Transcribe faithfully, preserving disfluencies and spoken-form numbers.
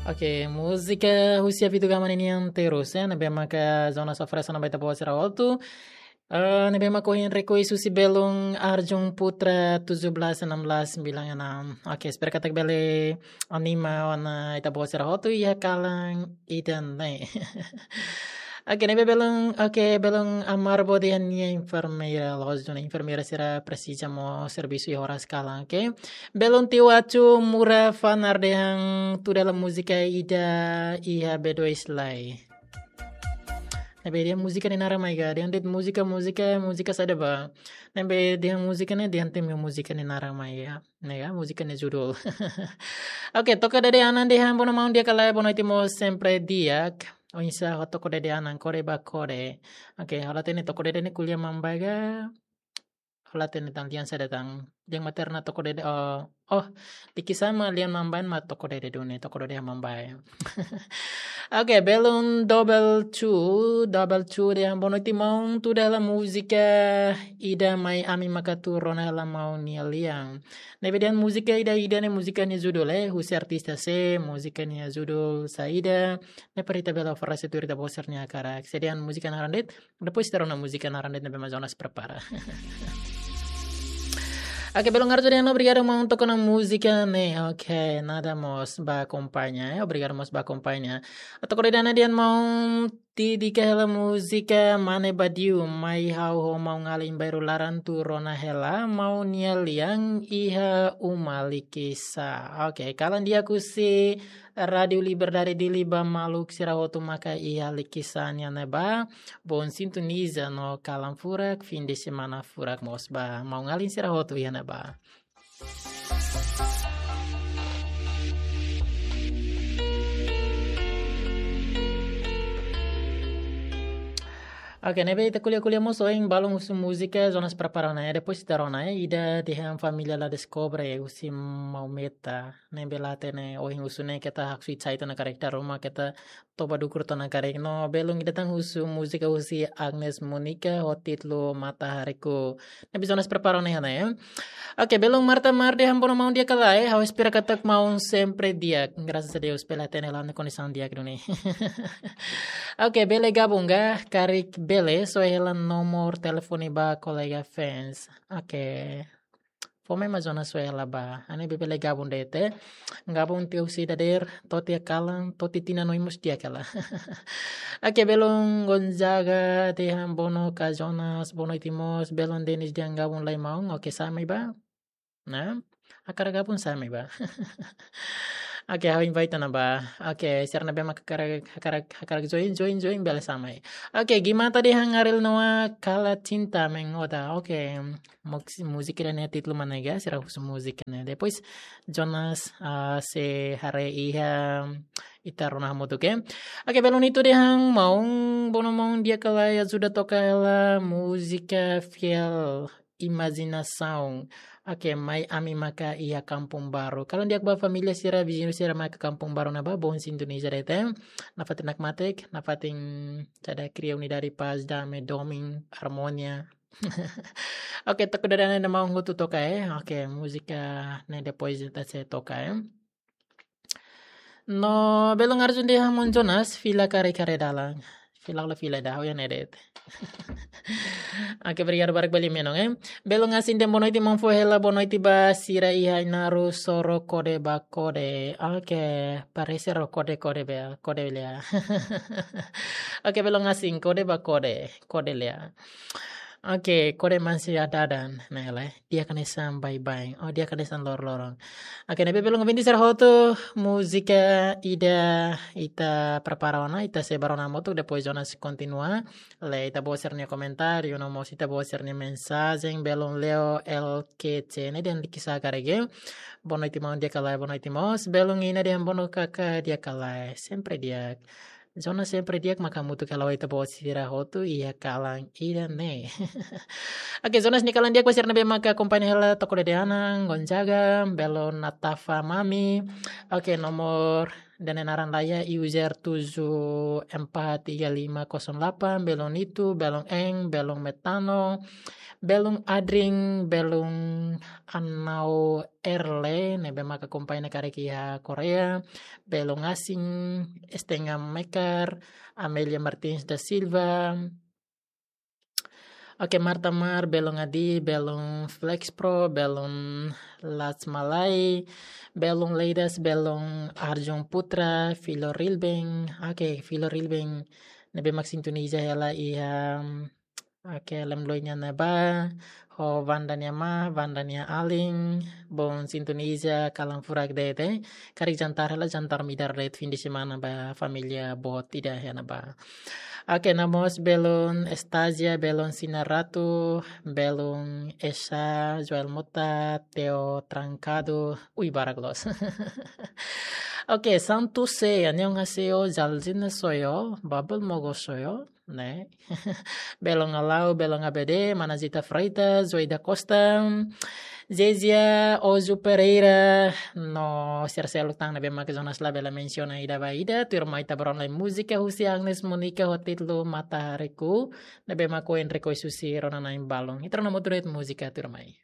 Oke, múzika husi Avitu Gama ninian terus, eh, ne'ebé maka Jonas oferese ona ba ita-boot sira hotu. Eh, ne'ebé maka ohin request husi belun Arjun Putra tujuh belas enam belas sembilan enam. Oke, espera katak bele anima ona ita-boot sira hotu iha kalan ida-ne'e. Oke, ne'ebé belun, oke, belun Amar Bodi nia enfermeira, la'ós duni enfermeira sira presiza mós servisu iha oras kalan, oke. Belun Tiu Acu Mura Fanar dehan tuda hela múzika ida iha B dois lai. Ne'ebé dehan múzika nia naran mai ga, dehan de'it múzika, múzika, múzika saida ba. Ne'ebé dehan múzika ne'e, dehan temi múzika nia naran mai ga. Ne'e ga, múzika nia judul. Oke, Toko Dede Anan dehan boa noite maun, di'ak ka lae, boa noite mós sempre di'ak. Oinsá ho Toko Dede Anan, kode ba kode. Oke, ha'u la hatene Toko Dede ne'e ko'alia Mambae ga. Ha'u la hatene tan lian saida tan. Lian materna Toko Dede, oh, oh, Likisá mak lian Mambae mak Toko Dede duni, Toko Dede Mambae. Oke, belun Double Two, Double Two dehan boa noite maun, tuda hela múzika ida mai ami maka atu rona hela maun nia lian. Ne'ebé dehan múzika ida-ida ne'e múzika nia judul, eh, husi artista sé, múzika nia judul saida, ne'e para ita bele oferese tuir ita-boot sira-nia hakarak. Se dehan múzika naran de'it, depois ita rona múzika naran de'it ne'ebé mak Jonas prepara. Oke, belun Arjun dehan obrigadu maun to'o ona múzika ne'e. Oke, nada mós ba akompaña, eh. Obrigadu mós ba akompaña. Toko Dede Anan dehan maun, dedika hela múzika Mane Badiu, mai ha'u ho maun alin bairru laran atu rona hela maun nia lian iha uma Likisá. Oke, kalan di'ak husi Rádiu Liberdade Dili ba maluk sira hotu maka iha Likisá nian ne'ebá. Bom sintoniza no kalan furak, fim de semana furak mós ba maun alin sira hotu iha ne'ebá. Oke, ne'ebé ita ko'alia-ko'alia mós ohin, balun husu múzika, Jonas prepara ona, eh, depois ita rona, eh, ida dehan família La Descobre, husi Maumeta, ne'ebé la hatene ohin husu ne'e keta haksoit sai tiha ona karik, dala ruma keta toba dukur tiha ona karik. No belun ida tan husu múzika husi Agnes Monica ho títulu Matahariku. Ne'ebé Jonas prepara ona iha ne'e, eh. Oke, belun Marta Mar dehan boa noite maun, di'ak ka lae, eh. Ha'u espera katak maun sempre di'ak. Graças a Deus, bele hatene hela nia kondisaun di'ak duni. Oke, bele gabung ga, karik bele, soe hela nomor telefone ba kolega fans. Oke. Fó mai mak Jonas soe hela ba. Ha'u-nia bebé la gabung de'it. Gabung tiha husi dadeer, to'o tiha kalan, to'o tiha tinan oin mós di'ak hela. Oke, belun Gonzaga dehan boa noite ka Jonas, boa noite mós, belun Denis dehan gabung lai maun, oke, sa'e mai ba. Nah, hakarak gabung sa'e mai ba. Oke, ha'u invite ona ba. Oke, sira ne'ebé mak hakarak, hakarak, hakarak join, join, join, bele sa'e mai. Oke, Gimata dehan Ariel Noah Kala Cinta Mengoda. Oke, muk-, múzika ida-ne'e títulu mak ne'e ga, sira husu múzika ne'e. Depois, Jonas, ah, sei haree iha ita rona hamutuk, oke. Oke, belun Nito dehan maun, boa noite maun, di'ak ka lae, ajuda toka hela múzika Fiel Imajinasaun. Oke, mai ami maka iha Kampung Baru. Kalan di'ak ba família sira, viziñu sira maka Kampung Baru ne'ebá, bom sintoniza de'it. Nafatin hakmatek, nafatin saida, kria unidade, paz, dame, domin, armonia. Oke, Toko Dede Anan dehan maun hotu toka, eh. Oke, múzika ne'e depois ita sei toka, eh. No belun Arjun dehan maun Jonas, fila karik haree dalan. Fila la fila dah, oya ne'e de'it. Oke, obrigadu barak ba liafuan, eh. Belun Asin dehan boa noite maun, fó hela boa noite ba sira iha Ainaro, soro kode ba kode. Oke, parese ró kode, kode ba, kode lea. Oke, belun Asin, kode ba kode, kode lea. Oke, kode mansia dadan, ne'e lae. Di'ak hanesan baibain. Oh, di'ak hanesan loroloron. Oke, ne'ebé belun ouvinte sira hotu, múzika ida ita prepara ona, ita sei bá rona hamutuk, depois Jonas kontinua. Lee ita-boot sira-nia komentáriu, no mós ita-boot sira-nia mensajen, belun Leo L K C ne'e dehan Likisá karik. Boa noite maun, di'ak ka lae, boa noite mós. Belun Ina dehan boa noite kaka, di'ak ka lae. Sempre di'ak. Jonas sempre di'ak maka hamutuk hela ho ita-boot sira hotu iha kalan ida-ne'e. Oke, Jonas nia kalan di'ak ba sira ne'ebé maka akompaña hela Toko Dede Anan, Gonzaga, belun Natafa Mami. Oke, nomor Ida-ne'e naran laiha user tujuh empat tiga lima kosong delapan, belun Nitu, belun Eng, belun Metano, belun Adring, belun Anau Erle, ne'ebé maka akompaña karik iha Korea, belun Asing, Estenga Mekar, Amelia Martins da Silva, oke, Marta Mar, belun Adi, belun Flex Pro, belun Lats Malai, belun Leidas, belun Arjun Putra, Filo Rilbeng, oke, Filo Rilbeng, ne'ebé mak sintoniza hela iha, oke, Lemloi nia ne'ebá, ho Vanda nia ma, Vanda nia alin, bom sintoniza kalan furak de'it, eh. Karik jantar hela, jantar midar de'it, fim de semana ba família boot ida iha ne'ebá. Oke, no mós belun Estasia, belun Sina Ratu, belun Esa, Joel Mota, Teo Trancado, ui, barak loos. Oke, Santu C, annyeonghaseyo, 잘 지내셨어요, Babel Mogo soyo, ne'e. Belun Alau, belun A B D, mana Zita Freitas, Zoida Costa, Zezia, Ozu Pereira, no sira seluk tan ne'ebé mak Jonas labele mensiona ida ba ida, tuirmai ita bá rona lai múzika husi Agnes Monica ho títulu Matahariku, ne'ebé mak ohin rekois husi rona-na'in balun. Ita rona hamutuk de'it múzika tuirmai.